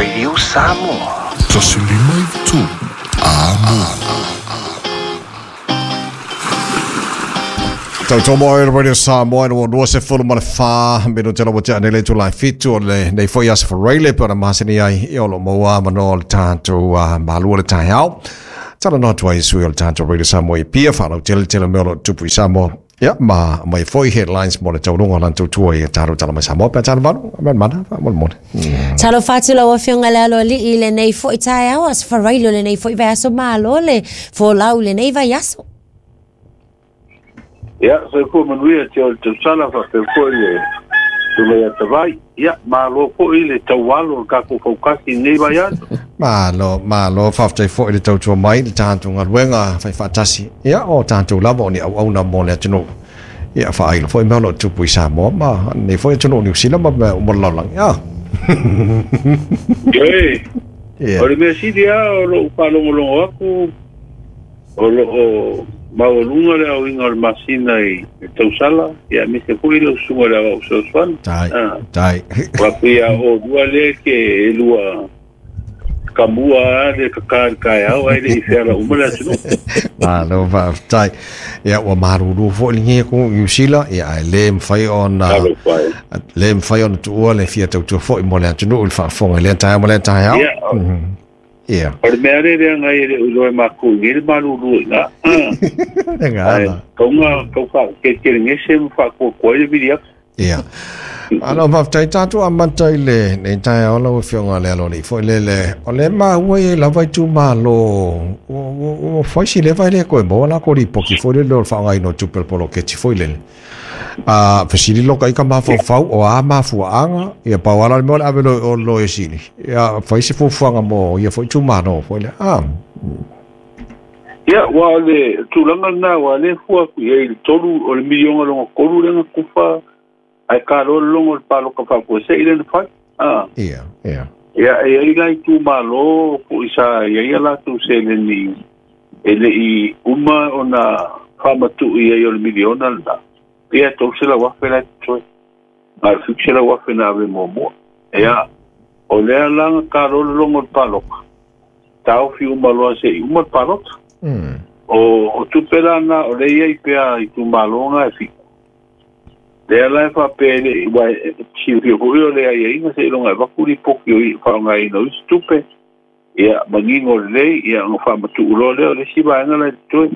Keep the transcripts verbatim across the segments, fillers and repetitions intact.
Radio Samoa. Tasi lima i tolu. Amo. Tau tomo e Radio Samoa no no se fulu ma le fa me no tela watia nei le tula fitu o le nei foi as for raile pe na masini ai e olo moa ma no le tanto malua le tai au. Tala no tua isu o le tanto Radio Samoa i pia whanau tele tele me olo tupu i Samoa. Ia, ma mai foi headlines mo le taurunga lan tautua i taro tala mai Samoa pe tala valu, amen mana, fa mo le mone. Talo fatu lau afioga le alo alii le nei foi taeao as farailo le nei foi vaiaso malo le folau le nei vaiaso. Ia, soifua manuia te o le tausala faapea foi le tulai atavai. Ia, malo foi le taualo o le tatou faukasi i lenei vaiaso. Malo, malo, faafetai foi le tautua mai le tatou galuega faifaatasi. Ia, o tatou lava o ni auauna mo le atunuu. Ia, faailo foi mea o loo tupu i Samoa ma nei foi atunuu o Niu Sila ma mea uma le lalolagi. Ia. Ioe, Ia. o le mea sili lava o lou faalogologo atu o loo maualuga le aoiga o le masina i le tausala, ia aemaise foi lau susuga i le aoao fesoasoani. Tai, Ah, tai. Ua pei a olua lea ke e lua kamua a le kaká i le taeao ae leʻi feala uma le atunuu. Malo faafetai. Ia ua malulu foi le gie ku Niu Sila, ia ae lē mafai ona Talofa e. lē mafai ona tuua le fia tautua foi mo le atunuu i le faafofoga i lea taeao ma lea taeao. Ia, Ia. o le mea lea leaga ai e leʻo iloa e makou i nei le malulu iga. Ah, Le ae gala. tauga tau faakekelegese ma faakuakua ai le vili atu. Ia. Alo faafetai tatou amata i le nei taeao lau afioga le alo alii foi lele. O le maua ia lava i itumalo ua ua ua fai si leva e le koe maua lakou lipoti foi lele o le faaaogaina o tupe o le poloketi foi lele. A fesili loka i ka mafaufau o a mafuaaga ia pau ala le mea o le ave loa i o le loia sili. Ia fai se fuafuaga mo ia foi itumalo foi lea. Ah. Ia, ua o le tulaga lenā ua lē fua atu i ai i le tolu o le miliona lona tolu lea na tufa ae kaloa le logo o le paloka faafuaseʻi lea na fai. Ah. Ia, ia. Ia, e ai la itumalo foʻi sa iai a latou seleni e leʻi uma ona faamatuʻu ai o le miliona lenā. Ia, tolu selau afe la e totoe. Na o le fitu selau afe na ave muamua. Ia, o lea la na kaloa le logo o le paloka. Taofi uma loa seʻi uma le palota. Mm. O, o tupe la na o lea iai pea itumalo e fitu. Lea la e faapea e leʻi ua e silafia foʻi o le aiaiga seiloga e vaku lipoti o i faaaogaina o isi tupe. Ia, manino lelei, ia ona faamatuʻu loa lea o le isi vaega la e totoe.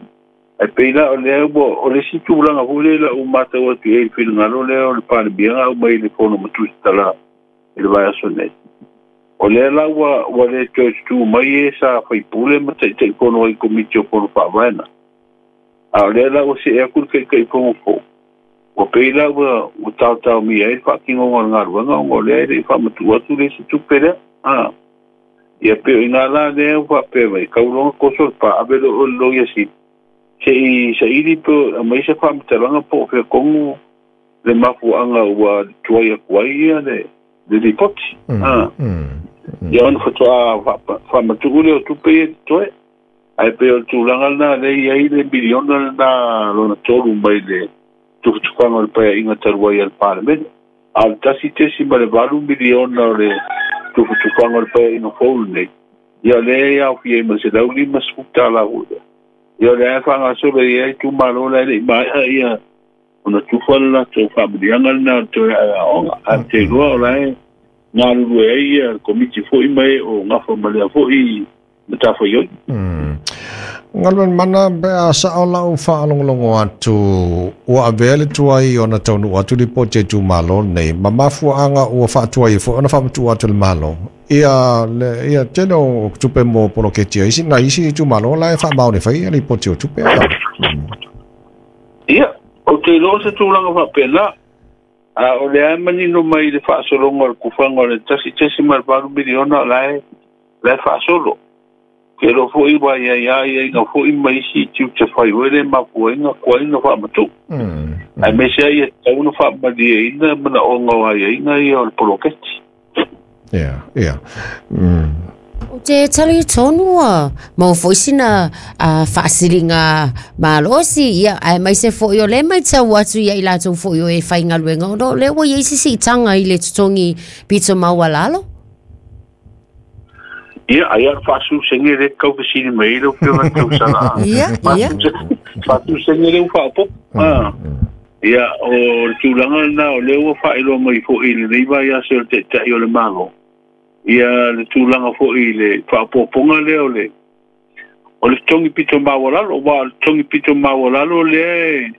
Ae pei la o lea ua o le isi tulaga foi lea lau matau atu i ai i le finagalo lea o le Palemia aumai i le fono matusi talā i le vaiaso nei. O lea la ua ua lē toe tutū mai e sa faipule ma taʻitaʻifono ai komiti o fono faavaena. A o lea la ua seʻe atu le taʻitaʻifono fou. Ua pei la ua ua taotaomia ai le faatinoga o le galuega ona o lea e leʻi faamatuʻu atu le isi tupe lea. Ah. Ia pe o iga la lea ua faapea mai kauloga koso le pa ave loo o le loia sili. Seʻi saʻili pe aumai se faamatalaga po o fea tonu le mafuaaga ua tuai atu ai ia le le lipoti. Mm. Ah. Mm. Ia ona faatoa faamatuʻu lea o tupe ia totoe. Ae pei o le tulaga lenā lea i ai le miliona lenā lona tolu mai le tufutufaga o le paeaʻiga talu ai a le Palemene. A o le tasi tesi ma le valu miliona o le tufutufaga o le paeaʻiga fou lenei. Ia o lea e aofia ai ma le selau lima sefulu tālā foi lea. Ia o lea e faagasolo i ai itumalo la e leʻi maeʻa ia ona tufa le latou faamanuiaga lenā o le toe aeaoga. Ae te iloa o la e galulue ai ia le komiti foʻi ma e o gafa ma lea foʻi matafaioi. Mm. Galuega mana pe a sao lau faalogologo atu ua avea le tuai ona taunuu atu lipoti a itumalo nei ma mafuaaga ua faatuai ai foi ona faamatuʻu atu le Malo. Ia le ia tele o tupe mo poloketi a isi nai isi itumalo la e faamaoni fai ia lipoti o tupe a. Ia, ou te iloa se tulaga faapena. A o lea e manino mai i le faasologa o le kufaga o le tasi tesi ma le valu miliona o la e la e faasolo. Ke lo foʻi ua iai a iaiga foʻi ma isi tiute fai oe le mafuaiga kuai na faamatuʻu. Mm. Aemaise ai e tatau ona faamalieina manaʻoga o aiaiga ia o le poloketi. Ia, ia. Mm. O te tali tonu a mau foi sina a faasiliga malosi ia aemaise foi o le matau atu ia i latou foi o e faigaluega ona o lea ua iai se siitaga i le totogi pito maualalo. Ia ai a faasusege le taufesili mai ai lau Afioga tausala. Ia, ia. Faasusege le ua faaopopo a ia o le tulaga lena o lea ua faailoa mai foʻi i lenei vaiaso o le Taitai o le Malo ia le tulaga foʻi i le faaopopoga lea o le o le totogi pito maualalo, ua o le totogi pito maualalo lea.